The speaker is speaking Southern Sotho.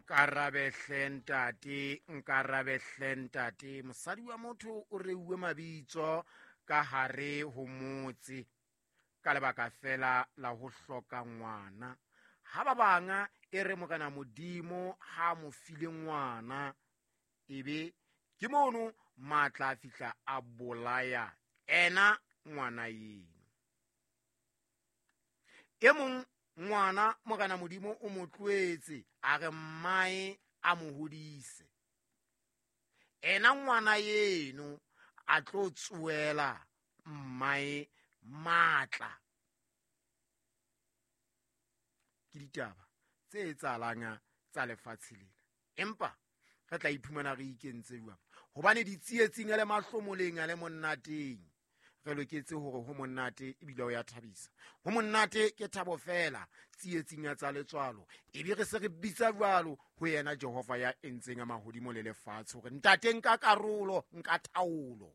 Nkarabe hle ntate, nkarabe hle ntate. Mosadi wa motho o reuwe mabitso ka hare ho motse ka lebaka fela la ho hloka ngwana. Ha ba banga e re Morena Modimo ha mo file ngwana, ebe ke mono matla a fihla a bolaya ena ngwana eno. E mong ngwana Morena Modimo o mo tloetse a re mmae a mo hodise. Ena ngwana eno a tlo tsoela mmae matla. Ke ditaba tse etsahalang tsa lefatshe lena, empa re tla iphumana re ikentse jwang? Hobane ditsietsing le mahlomoleng a le monnateng, re loketse hore ho monate ebile o ya thabisa. Ho monate ke thabo fela tsietsing ya tsa letswalo, ebe re se re bitsa jwalo ho yena Jehova ya entseng a mahodimo le lefatshe, hore ntate nka karolo, nka taolo.